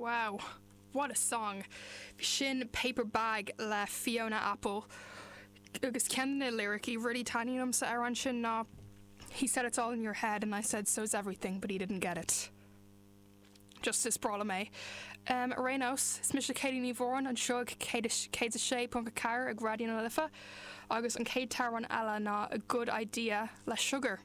Wow, what a song! Bhí sin Paper Bag le Fiona Apple agus ceann de na liricí rudaí taitníonn liom sa amhrán sin ná He said it's all in your head and I said so's everything but he didn't get it. Just is breá liom é. Ar aon nós, is mise Katie Ní Mhóráin anseo ag 106.4 ag Raidió na Life agus an chéad t-amhrán eile ná A Good Idea le Sugar.